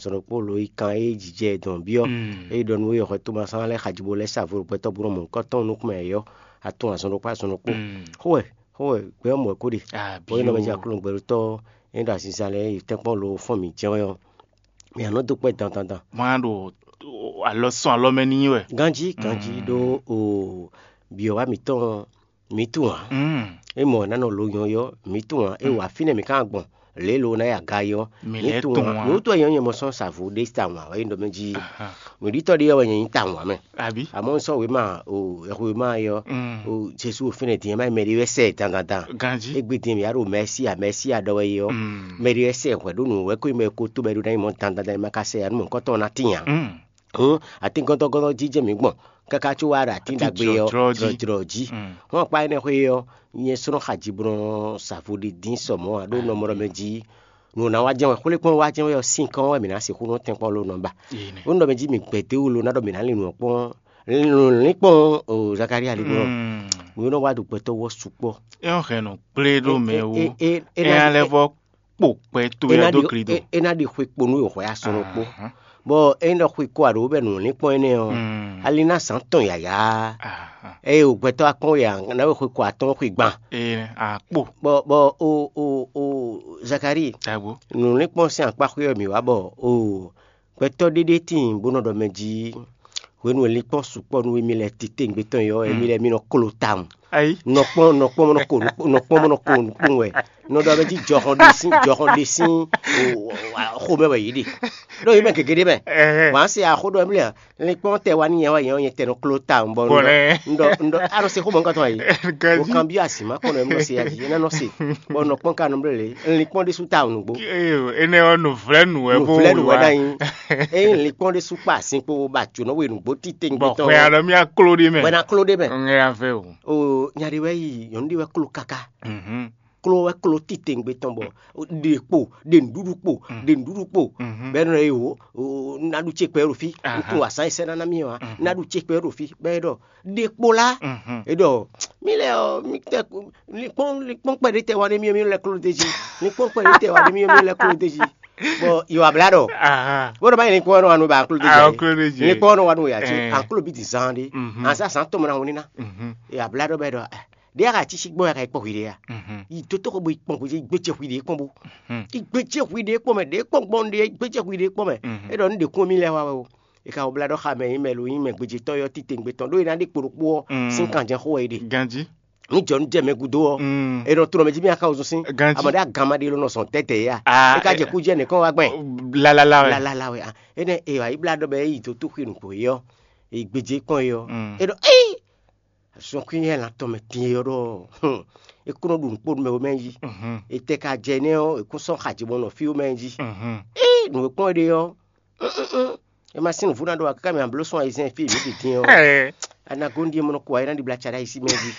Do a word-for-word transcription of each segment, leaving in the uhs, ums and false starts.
azɔn ɖokpó lo yi kan e jijɛ dɔn byɔ́. Eye ɖɔ nú we xɔ Tomasán lɛ́ɛ xajibo lɛ́ɛ sa vo ɖo gbɛtɔ́ bú nɔ mɔ nukɔn tɔn nukún mɛ yɔ, atún azɔn ɖokpó azɔn ɖokpó. Xó wɛ, xó wɛ, gbɛ ɔ́ mɔ wɛ kó ɖe. Bɔ é nɔ mɛ jɛ aklúnɔ gbɛɖótɔ́ e ɖo azinzan lɛ́ɛ yi tɛ́nkpɔ́n lo fɔ́n mǐ jɛ́n wɛ ɔ́, mǐ nɔ dó kpɛ́ dandan dan. Má ɖo alɔ sɔn alɔ mɛ n'i wɛ. Ganjí ganjí ɖó o byɔ̌wá mǐtɔn mǐ tunwun ǎ. É mɔ ná nɔ lo nyɔ́ yɔ mǐ tunwun ǎ. É wa fínɛ́ mǐ ka gbɔn lě lo ná ya ga yɔ. Mǐ lɛ́ tunwun ǎ. Nǔ tɔn nyɔ́ nyɛ mɔ sɔ́ sa vo ɖé tawun ǎ wɛ nyí ɖɔ mɛ jí. Nǔɖítɔ́ ɖé wɛ nyɛ nyí tawun ǎ mɛ. Àbí? Àmọ́ un sɔ́ wěma o, wěma yɔ o Jesu fínɛ́ din ɛ má nyí mɛ ɖé wɛ sɛ dandandan. Ganjí. Égbé din mǐ á ɖo mɛsíya mɛsíya ɖɔ wɛ yɔ. Mɛ ɖé wɛ sɛ hwɛ ɖó nǔ wɛ kó nyí mɛ ko tó bɔ é ɖó ná nyí mɔ dandandan é má ka sɛ ya nú mɔ̌hunkɔtɔn ná tín ǎ. Hǔn atíngántɔ́gántɔ́ jínjɛ́n mǐ gbɔn káká có wá ɖo atín ɖagbe ɔ́ jlɔ̌jlɔ́ jí. Hɔn akpá énɛ́ xwé ɔ́, nyɛ sɔ́ nɔ xa ji bó nɔ sa vo ɖi dín sɔ mɔ̌ ǎ ɖó nɔ mɔ ɖɔ mɛ jí nǔ ná wá jɛ́n wɛ xwlékpɔ́n wá jɛ́n wɛ ɔ́, sín kɔn wɛ mǐ ná sixú nɔ tɛ́nkpɔ́n ló nɔ ba. Ó nɔ mɛ jí mǐ gbɛdé wú lo ná ɖɔ mǐ ná lin nǔ ɔ́ kpɔ́n lǐnkpɔ́n Zakalía lin gbɔn. Nǔ e nɔ wá ɖo gbɛtɔ́ wú ɔ́ sukpɔ́. É ɔ́ hɛn nɔ kplé ɖó mɛ wú. É ná lɛ́ vɔ kpo kpɛ towe ɔ́ dó gli do. É ná ɖi xwe kpo nú wɛ hwɛ asɔn ɖokpó. Bɔ é ná xwe kó aɖǒ bɛ nǔ lin kpɔ́n énɛ́ ɔ́, ali ná zǎn tɔn yǎyá. Eye wò gbɛtɔ́ akpɔ́n we ǎ, ná we xwe kó atɔ́ɔ́n xwe gban. Akpo. Bɔ bɔ o o o Zakalíi, nǔ lin kpɔ́n sín akpá xwé ɔ́ mǐ wá bɔ o gbɛtɔ́ ɖéɖé tíin bó nɔ ɖɔ mɛ jí hwenu e linkpɔ́n sukpɔ́ nú émí lɛ́ɛ titewungbe tɔn ɔ́, émí lɛ́ɛ mí nɔ klo tawun. Ayi. Nɔ kpɔ́n nɔ kpɔ́n nɔ ko nɔ kpɔ́n nɔ ko nukpɔ́n wɛ. Nɔ ɖɔ mɛ jí jɔhɔn ɖe sín jɔhɔn ɖe sín xomɛ wɛ yě ɖe. Ɖó yě mɛ gěgé ɖé mɛ. Wǎn se axó ɖɔ émí lɛ́ɛ linkpɔ́n tɛ wá ní nyɛ wɛ nyɛ nyɛ tɛ nɔ klo tawun bɔ nɔ ɖɔ nɔ se xomɛ ŋkɔtɔn ayi. O kan bí asi ma kɔnɔ émí nɔ se ayi é nɔ se. Bɔ nɔ kpɔ́n ka nɔ blé lé linkpɔ́n ɖésú tawun nǔgbó. Énɛ́ ɔ́ nǔvlɛ́nú wɛ bó nǔvlɛ́nú wɛ ɖ'ayí. Ényí linkpɔ́n ɖésú kpa asin kpo bɔ ajǒnɔ we nǔgbó titewungbe tɔn. Bɔ xwe alɔ mì akló ɖé mɛ. Wɛ ná kló ɖé mɛ. Ŋɛ ya vɛ o. O nya ɖé wɛ yi nyɔ̌nu ɖé wɛ kló káká. Kló wɛ kló titewungbe tɔn bɔ ɖe kpo ɖe nǔɖuɖu kpo ɖe nǔɖuɖu kpo. Bɛ nɔ ye o ná ɖu ce kpɛ ɖo fí. Ntun wasa yi sɛ nana mi wa ná ɖu ce kpɛ ɖo fí bɛ ɖɔ ɖe kpo la. E ɖɔ mi lɛ ɔ mi tɛ linkpɔn linkpɔn kpɛ ɖe tɛ wa ɖe mi mi lɛ kló ɖe jí. Linkpɔn kpɛ ɖe tɛ wa ɖe mi mi lɛ kló ɖe jí. Bɔ yɔ abla ɖɔ. Bó ɖɔ bá yɛ linkpɔn nɔ wa nɔ ba anklo ɖe jí. Linkpɔn nɔ wa nɔ ya jí anklo bi di zan ɖe. Ansa zan tɔmɔ na woni na. Yɔ abla ɖɔ bɛ ɖɔ ɖe ya ka tisi gbɔn ya ka kpɔ hwi ɖe ya. Yi dotoxɔ bo yi kpɔn bo yi gbéjɛ hwi ɖe kpɔn bo. Yi gbéjɛ hwi ɖe kpɔn mɛ ɖe kpɔn gbɔn ɖe gbéjɛ hwi ɖe kpɔn mɛ. E ɖɔ nu ɖe kún mi lɛ wa wɛ o. E ka wɔ bla ɖɔ xa mɛ yi mɛ lo yi mɛ gbéjé tɔn yɔ titewungbe tɔn ɖó yi na ɖe kpo ɖokpo ɔ sín kanjɛ xó wɛ yi ɖe. Ganji. Ní jɔ ní jɛ mɛ gúdo ɔ. E nɔ tlɔ mɛ jí mi aka wosún sín. Ganji. Amɔ ɖe agama ɖe ló nɔ sɔn tɛtɛ ya. Ah, e ka jɛ kú jɛ nìkan wa gbɛn. Lalala wɛ. Lalala wɛ. Enɛ e wa yi bla ɖɔ bɛ e yi dó tó xwe nukpo yi ɔ. E gbéjé kpɔn yi ɔ. E ɖɔ ee. Sɔn kú yɛ lan tɔn mɛ tin yi ɔ ɖɔ. E kó nɔ ɖu nukpo mɛ wo mɛ jí. E tɛ ka jɛ nɛ ɔ e kún sɔn xaji bɔ nɔ fi wo mɛ jí. Ee nǔ e kpɔn ɖe ɔ. É ma sín nǔvú ná ɖo akáká mɛ abló sún ayizɛ́n fí mǐ ɖi din ɔ́. Anagóndi e mɔ nɔ kó ayé ná ɖibla tsa ɖ'ayǐ sí mɛ jí.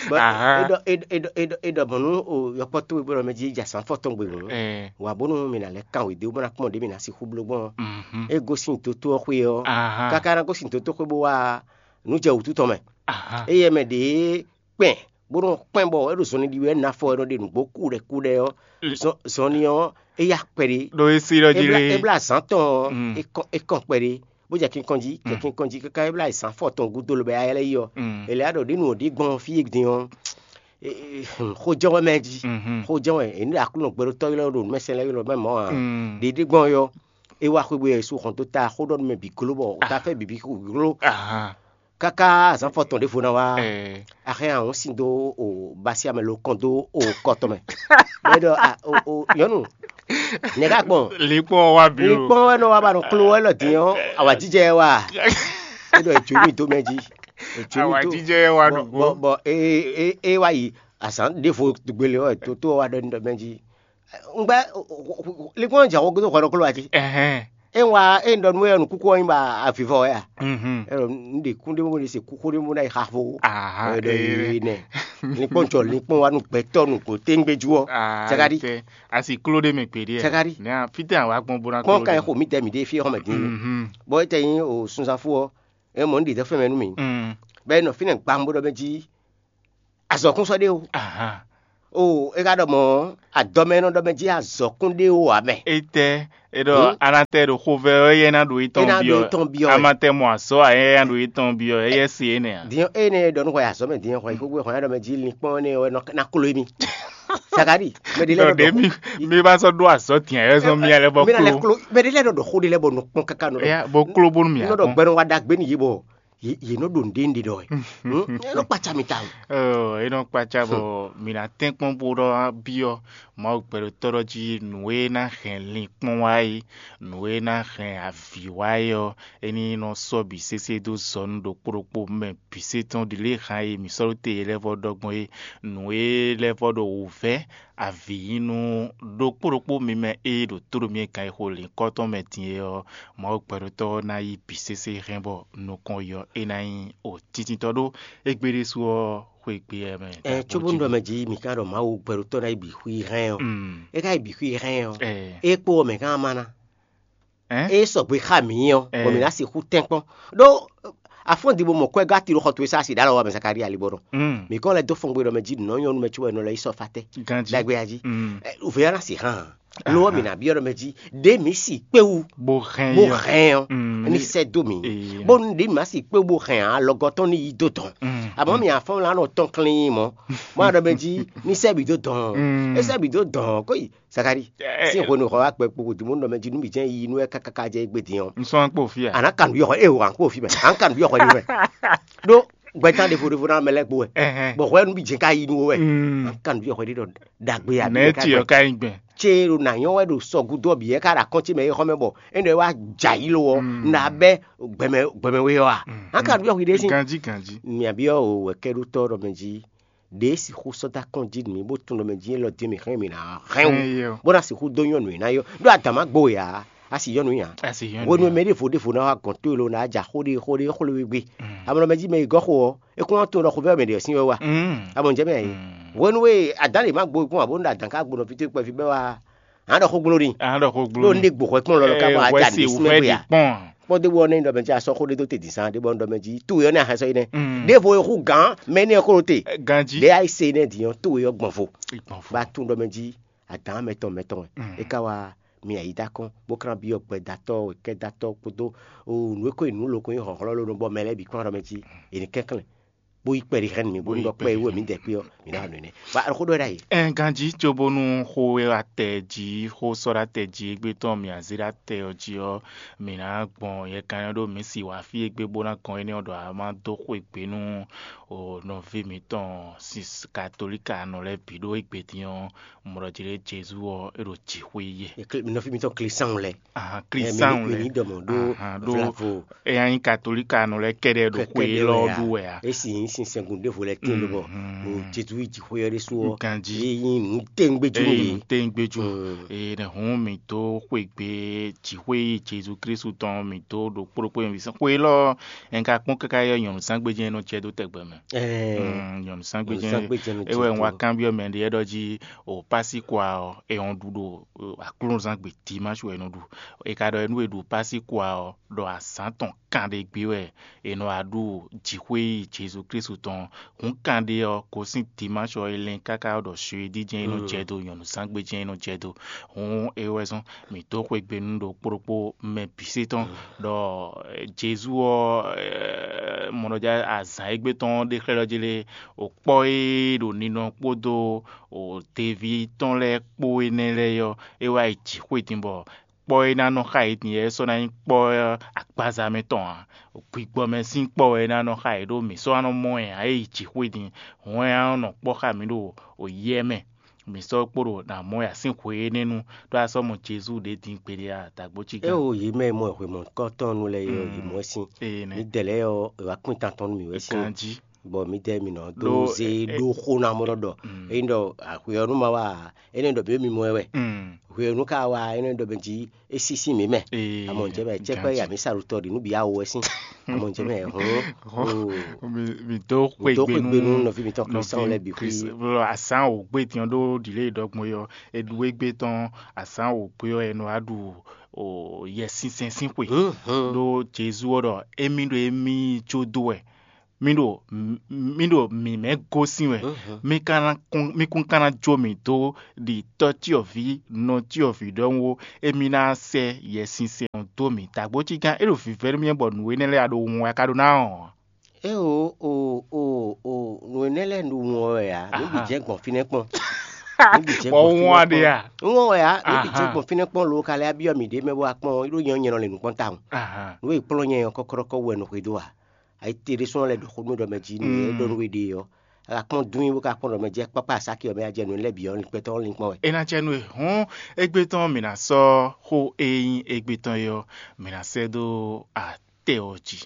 Bɔ é ɖɔ é ɖɔ é ɖɔ é ɖɔ é ɖɔ bɔn nú o yɔkpɔ́ towe bó ɖɔ mɛ jí é jɛ asán fɔ tɔn gbe hǔn. Wa bónú mǐ ná lɛ́ kan wědé bó ná kpɔ́n ɖě mǐ ná sixú bló gbɔn. É gosín dótó ɔ́ xwé ɔ́. Káká ná gosín dótó xwé bó wá nǔ jɛ wǔtu tɔn mɛ. Éyɛ́ mɛ ɖě kpɛn bó nɔ kpɛn bɔ é ɖo zɔnlin ɖi wɛ nafɔ e nɔ ɖe nǔgbó kúɖɛ kúɖɛ ɔ́, zɔnlin ɔ́ é yá kpɛɖé. Ɖo é sí ɖɔ jí lé. É blá azǎn tɔn ɔ́, é kɔn kpɛɖé, bó jɛ kinkɔn jí, jɛ kinkɔn jí káká é blá azǎn fɔ tɔn gúdo lobɛ ayɛlɛ yi ɔ́. È lɛ́ ɖɔ ɖě nu ɔ́ ɖi gbɔn fí e din ɔ́, xó jɛ́n wɛ mɛ jí. Xó jɛ́n wɛ è ní ɖo Aklúnɔ gbɛɖótɔ́ ylɔ́ ɖo nǔmɛsɛn lɛ́ɛ ylɔ́ mɛ mɔ̌ ǎ. Ɖě ɖi gbɔn ɔ́, é wá xwé bó yɛ su hɔn dó ta xó ɖɔ nú mɛ bǐ gló bɔ ta fɛ bǐ bǐ gló. Káká azǎn fɔtɔn ɖěvo ná wá, a hɛn ahɔn sin dó o basi amɛ lo kɔn dó o kɔ tɔn mɛ. Bɛ ɖɔ a o o nyɔnu, nɛ̌ ká gbɔn? Linkpɔn wa bi o. Linkpɔn wɛ nɔ wa ba nɔ klo wɛ lɔ din ɔ́, awǎjijɛ wɛ wa. E ɖɔ e jó mi dó mɛ jí. E jó mi dó. Awǎjijɛ wa nɔ bɔ bɔ e e e wa yi azǎn ɖěvo gbélé ɔ́, e tó tó wa ɖɔ ní ɖɔ mɛ jí. Ngbɛ linkpɔn jɛ xɔ gúdo xɔ ɖoklo wa jí. Ɛhɛn. E wa e ɖɔ nú e nukúkú ɔ́ nyí ba avivɔ wɛ a? Mhm. E ɖɔ n ɖe kún ɖé mo ɖe se kúkú ɖé mo ɖe xa fo. Aha. E ɖɔ ee nɛ. Linkpɔn jɔ linkpɔn wa nu gbɛtɔ nu ko téŋgbé ju ɔ. Ah, Cakadi. Asi klo ɖé mɛ gbeɖé. Cakadi. Nɛ fitɛ awa gbɔn bó na kpɔn kan xo mi tɛ mi ɖe fi xɔ mɛ dín. Mhm. Bɔ e tɛ nyi o sunzafo ɔ. E mɔ n ɖe dɛ fɛn mɛ nú mi. Mm. Bɛ nɔ fi nɛ gbambo ɖɔ mɛ jí. Azɔkún sɔ ɖe o. Aha. O, é ka ɖɔ mɔ̌, adɔmɛ e nɔ ɖɔ mɛ jí azɔ̌kún ɖé ó ǎ mɛ. Étɛ́, é ɖɔ anatɛ ɖo xovɛ ɔ́, éyɛ́ ná ɖo étɔn byɔ́. Amatɛ mɔ azɔ̌ ǎ, éyɛ́ ná ɖo étɔn byɔ́, éyɛ́ se énɛ́ ǎ. Din énɛ́ e ɖɔ nú hwɛ azɔ̌ mɛ din hwɛ xógbé hwɛ ɖɔ mɛ jí linkpɔ́n énɛ́ wɛ ná klo émí. Sakari, mɛ ɖé lɛ́ɛ ɖɔ mi mi ba sɔ́ ɖó azɔ̌ din ayɛ zɔn mi alɛ bɔ klo. Mɛ ɖé lɛ́ɛ ɖɔ ɖɔ xó ɖé lɛ́ɛ bɔ nɔ kpɔn káká nɔ. Bɔ klo bónú mi. Nɔ ɖɔ gbɛnɔ wa ɖagbe n'i yé bɔ yě nɔ ɖo nǔɖé ɖe ɖɔ wɛ. É nɔ kpatsa mi tawun. Ɔ, é nɔ kpatsa bɔ mǐ ná tɛ́nkpɔ́n bó ɖɔ byɔ́ Mawu gbɛɖotɔ́ ɖɔ jí nǔ e ná hɛn linkpɔ́n wá é, nǔ e ná hɛn avǐ wá é ɔ́, é ní nɔ sɔ́ bǐ sésé dó zɔ nú ɖokpó ɖokpó mɛ bǐ sé tɔn ɖi lě hán e mǐ sɔ́ ɖó te e lɛ́ vɔ ɖɔ gbɔn é. Nǔ e lɛ́ vɔ ɖo wǔvɛ́ avǐ yí nú ɖokpó ɖokpó mi mɛ e ɖo tóɖo mì e gǎn e xo lǐnkɔ́ tɔn mɛ din é ɔ́, Mawu gbɛɖotɔ́ ɔ́ ná yí bǐ sésé hɛn bɔ nukɔn yɔ é ná nyí o titintɔ́ ɖó égbé ɖésú ɔ́ xwé gbé ɛ mɛ. Ɛ cóbónú ɖɔ mɛ jí mi ka ɖɔ Mawu gbɛɖotɔ́ ná yi bǐ xwí hɛn ɔ́, é ka yi bǐ xwí hɛn ɔ́, é kpó ɔ́ mɛ ká má ná. É sɔgbe xá mǐ ɔ́, bɔ mǐ ná sixú tɛ́nkpɔ́n. Ɖó afɔ́n di bo mɔ kwɛ́ gɔ́ ati ɖo xɔ towe sá asi ɖǎlɔ wá mɛ Zakalía ali bɔ nɔ. Mǐ kɔn lɛ́ dó fɔngbe ɖɔ mɛ jí nǔ nyɔ́ nú mɛ cóbɔ è nɔ lɛ́ yi sɔ́ fa tɛ́. Ganjí. Ɖagbe ya jí. Ɛ, Vě ɔ́ ná sixá hàn. Lo ɔ́, mǐ ná byɔ́ ɖɔ mɛ jí ɖě mǐ si kpé wú bó hɛn bó yɔ. Hɛn ɔ́, ní sɛ́ dó mǐ. Ee. Bónú ɖě mǐ má si kpé wú bó hɛn ǎ, alɔgɔ́ tɔn ní yi dó dɔn. Amɔ̌ mǐ afɔ́n la nɔ tɔn klin mɔ. Má ɖɔ mɛ jí ní sɛ́ bǐ dó dɔn. É sɛ́ bǐ dó dɔn kó yi Sakari. Sín hwenu xɔ wá kpɛ kpokpo dǐmú nɔ mɛ jí nú mǐ jɛ́n yi nú ɛ káká jɛ égbé din ɔ́. Un sɔ́ kpo fí a? Àná kan nǔ yɔxɔ ée wǎn kpo fí mɛ. À ń kan nǔ yɔxɔ ní mɛ. Ɖó gbɛtán ɖevo ɖevo ná mɛ lɛ́ gbo wɛ. Bɔ hwɛ nú mǐ jɛ́n ká yi nú wɛ. À ń kan nǔ yɔxɔ ní ɖɔ ɖagbe a. Nɛ̌ ti ɔ́ ka nyí gbɛn? Tse ɖo nǎ nyɔ́ wɛ ɖo sɔgúdú ɔ́ bǐ yɛ ká ɖo akɔ́ncí mɛ é xɔ mɛ bɔ é nɔ wá jɛ ayǐ lo ɔ́, nǎ bɛ́ gbɛmɛ gbɛmɛ we ɔ́ a? À ń kan nǔ yɔxɔ ní ɖe sín. Ganjí ganjí. Mǐ byɔ́ o wɛ̌kɛ́ɖótɔ́ ɖɔ mɛ jí ɖě sixú sɔ́ dó akɔ́n jí nú mì bó tunwun ɖɔ mɛ jí élɔ́ dín mì xlɛ́ mì ná hɛn wú, bó ná sixú dó nyɔ́nu e ná yɔ ɖó adǎn má gbo wɛ ǎ. A sì yɔ́nu ǎ. Hwenu e mɛ ɖěvo ɖěvo ná wá gɔ̌n tó e lo ná ja xó ɖé xó ɖé xó lé wé gbé, amlɔ mɛ jí mɛ e gɔ́ xo ɔ́, é kún wá tunwun ɖɔ xovɛ́ mɛ ɖě ɔ́ sín wɛ wá. Amɔ jɛ mɛ ɛ hwenu e adǎn lě má gbo kún ǎ bónú ɖo adǎn ká gbo nɔ fítɛ́ kpɛví bɛ́ wá. Hǎn ɖɔ xó gbló n'i. Hǎn ɖɔ xó gbló ɖó n'i. Ní ɖe gbǒ hwɛ kplɔ́n lɔ lɔ ká bɔ a ja nǔɖé sín mɛ xwe ǎ. Kpɔ́ ɖé bɔ nɛ́ ɖɔ mɛ jí a sɔ́ xó ɖé dó te dǐn sán ɖé bɔ ɖɔ mɛ jí towe ɔ́ nɛ́ a hɛn sɔ́ yi nɛ́. Ɖěvo e hú gǎn mɛ énɛ́ ɔ́ kó ɖó te. Ganjí. Ɖě a yi se énɛ́ din ɔ́ towe ɔ́ gbɔn vo. Ìgbɔn fún. Bá tún ɖɔ mɛ jí adǎn mɛtɔn mɛtɔn wɛ. É ká wá mi ayǐ dá kɔn bó ká ná byɔ́ gbɛdatɔ́ wěkɛ́datɔ́ kpódó nǔ e ko nyi nǔ lo ko nyí hlɔ̌nhlɔ́n lónɔ́ bɔ mɛ lɛ́ɛ bǐ kplɔ́n ɖɔ mɛ jí è nǐ kɛnklɛ́n bó yí kpɛɖi hɛn mì bónú ɖɔ kpɛ e wú mǐ dɛ kpé ɔ́, mǐ ná nɔ énɛ́. Wá xó ɖɔ ɖ'ayǐ. Ɛ ganjí cóbónú xó e atɛ jí xó sɔ́ ɖo atɛ jí égbé tɔn mì azé ɖo atɛ ɔ́ jí ɔ́, mǐ ná gbɔn yɛkan ɔ́ ɖó mǐ si wǎ fí égbé bó ná gɔn énɛ́ ɔ́ ɖɔ a má dó xwé gbe nú nɔví mǐtɔn katolíka nɔ lɛ́ɛ bǐ ɖó égbé din ɔ́, mɔ ɖɔ jí ɖé Jezu ɔ́ é ɖo jǐxwé yɛ. Nɔví mǐtɔn Klísáun lɛ́ɛ. Ahan, Klísáun lɛ́ɛ. Mǐ ní ɖɔ mɔ̌ ɖó vlavo. Eya nyí katolíka nɔ lɛ́ɛ kɛɖɛ ɖo xwe élɔ́ ɖu wɛ a? É sì nyí sinsɛngun ɖěvo lɛ́ɛ tíin lobɔ ɖo Jezu yi jǐxwé ɔ́ ɖésú ɔ́, é nyí nǔ téŋgbéjú nú yě. Nǔ téŋgbéjú. Ee, nɛ̌ hǔn mǐ dó xwé gbe jǐxwé yi Jezu Klísu tɔn mǐ dó ɖo kpóɖokpó nyi vǐ sɛn xwe élɔ́ ɔ́, un ka kpɔ́n káká yɔ nyɔ̌nu zán gbéjɛ nɔ jɛ dó tɛgbɛ mɛ. Ɛɛ, nyɔ̌nu zán gbéjɛ nɔ jɛ dó. É wɛ un wá kanbyɔ́ mɛ ɖé ɖɔ jí o Pásíkwa ɔ́, è hɔn ɖu ɖo aklúnɔzán gbe dimáṣu wɛ è nɔ ɖu. È ka ɖɔ nú è ɖu Pásíkwa ɔ́, ɖɔ azǎn tɔn kanɖé gbé wɛ è nɔ wá ɖu jǐxwé yi Jezu Klísu tɔn. Hǔn kanɖé ɔ́, gosín dimáṣu ɔ́, è lɛ́n káká ɖɔ suedí jɛ́n é nɔ jɛ dó, nyɔ̌nu zán gbé jɛ́n é nɔ jɛ dó. Hǔn é wɛ zɔ́n mǐ dó xwé gbe nú ɖo kpóɖokpó mɛ bǐ sé tɔn ɖɔ Jezu ɔ́, mɔ ɖɔ jɛ azǎn égbé tɔn ɖé xlɛ́ ɖɔ jí lé, o kpɔ́ e ɖo ninɔ kpódó o deví tɔn lɛ́ɛ kpó énɛ́ lɛ́ɛ ɔ́, é wá yi jǐxwé din bɔ kpɔ́ e ná nɔ xá yě din é sɔ́ ná nyí kpɔ́ agbaza mɛ tɔn ǎ. Gbigbɔ mɛ sín kpɔ́ wɛ é ná nɔ xá yě ɖó mǐ sɔ́ wá nɔ mɔ ɛ ǎ é yi jǐxwé din. Hɔn ɛ á nɔ kpɔ́ xá mǐ ɖo yɛ mɛ. Mǐ sɔ́ kpo ɖo nǎ mɔ ya sín hwe énɛ́ nu ɖó a sɔ́ mɔ Jezu ɖě din gbeɖé a dǎgbó cí É gán. O yě mɛ e mɔ hwemɔkɔ́tɔn nu lɛ́ɛ é ɔ, yě mɔ ɛ sín. Ee nɛ. Mǐdɛɛ lɛ́ɛ ɔ, è wá kpín tantɔn nú mǐ wɛ sín. Ganjí. Bɔ mǐdɛɛ mǐ nɔ dó Ɖó, zé ɛ, ɛ, ɖó xó ná mɔ ɖɔ ɖɔ. Ényí ɖɔ hwe ɔ́ nú ma wá a, énɛ́ ɖɔ mǐ mi mɔ ɛ wɛ. Mm. Hwe ɔ́ nú ka wá a, énɛ́ ɖɔ mɛ jí é sí sín mǐ mɛ. Ee, Amɔ ŋjɛ mɛ cɛ́kpɛ́ ganjí. Ya mǐ sa ɖo tɔ ɖi nú bǐ awo wɛ sín. Amɔ ŋjɛ mɛ hɔn. Hɔn. Mi mi dó xwe Dó gbe xwe gbe nú nú nɔví mìtɔn Kristian lɛ́ɛ bǐ xwí. Kristian asán wò gbé tiɲɔ ɖó ɖǐlé ɖɔgbɔn yɔ eɖu égbé tɔn asán wò gbé ɔ́ ɛnɔ wá ɖu o yɛ sínsɛn sín xwe. Hǔn hǔn. Ɖó Jezu ɔ́ ɖɔ émí ɖo émí jó dó wɛ Mi ɖo mi ɖo mǐmɛ́ gosín wɛ. Mi ka ná kún mi kún ka ná jó mì dó ɖi tɔ́ cyɔvǐ nɔ cyɔvǐ ɖɔhun ó. Émí ná sɛ́ Yɛsinsɛn ɔ́ dó mì. Dǎgbócígán é ɖo vǐvɛ́ nú mì bɔ nǔ énɛ́ lɛ́ɛ a ɖo wun wɛ a ka ɖó ná ɔ́. É o o o o nǔ énɛ́ lɛ́ɛ ɖo wun ɔ́ wɛ ǎ. Nǔ bǐ jɛ́n gbɔn fínɛ́ kpɔ́n. Nǔ bǐ jɛ́n Bɔ gbɔn wun fínɛ́ wá ɖe kpɔ́n. A? Wun ɔ́ wɛ ǎ. Nǔ bǐ jɛ́n gbɔn fínɛ́ kpɔ́n lo ka lɛ́ byɔ́ mǐ ɖě mɛ bó wá kpɔ́n ɔ́, é ɖó nyɛ ɔ́, nyɛ nɔ lě nǔ kpɔ́n tawun. Nǔ e kplɔ́n nyɛ ɔ́ kɔ́kɔ́ɖɔkɔ́ wú wɛ nɔ xwedó ǎ. Ayíte ɖésú lɛ́ ɖo xó nú ɖɔ mɛ jí nú e ɖɔ nú we ɖe ɔ́. A ka kpɔ́n dún bó ka kpɔ́n ɖɔ mɛ jí kpákpá asáki ɔ́ mɛ a jɛ nǔ lɛ́ɛ bǐ ɔ́ linkpɛ́tɔ́ ɔ́ linkpɔ́n wɛ. É ná cɛ nú e hɔ́n égbé tɔn mǐ ná sɔ́ xó e nyí égbé tɔn é ɔ́, mǐ ná sɛ́ dó atɛ ɔ́ jí.